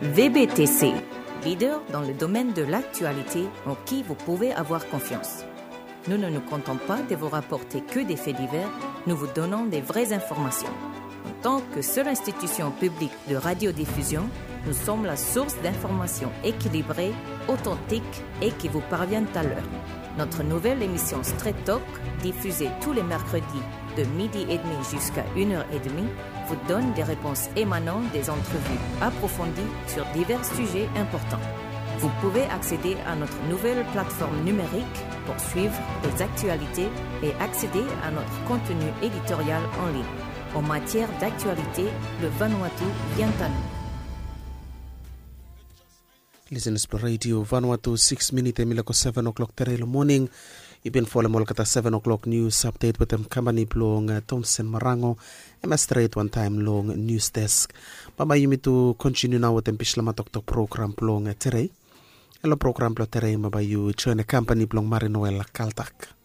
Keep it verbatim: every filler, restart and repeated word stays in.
V B T C, leader dans le domaine de l'actualité en qui vous pouvez avoir confiance. Nous ne nous contentons pas de vous rapporter que des faits divers, nous vous donnons des vraies informations. En tant que seule institution publique de radiodiffusion, nous sommes la source d'informations équilibrées, authentiques et qui vous parviennent à l'heure. Notre nouvelle émission Straight Talk, diffusée tous les mercredis de midi et demi jusqu'à une heure et demie, vous donne des réponses émanant des entrevues approfondies sur divers sujets importants. Vous pouvez accéder à notre nouvelle plateforme numérique pour suivre les actualités et accéder à notre contenu éditorial en ligne. En matière d'actualité, le Vanuatu vient à nous. Listeners blong Radio Vanuatu, six minit hemi laek go seven o'clock tere long moning. Yu bin folem olgeta seven o'clock news update wetem kampani blong Thomson Marango. Hemia stret wantaem long news desk. Bambae yumi tu kontiniu nao wetem Bislama Toktok program blong tere. Long program blong tere bambae yu joen kampani blong Marine Oil Caltex.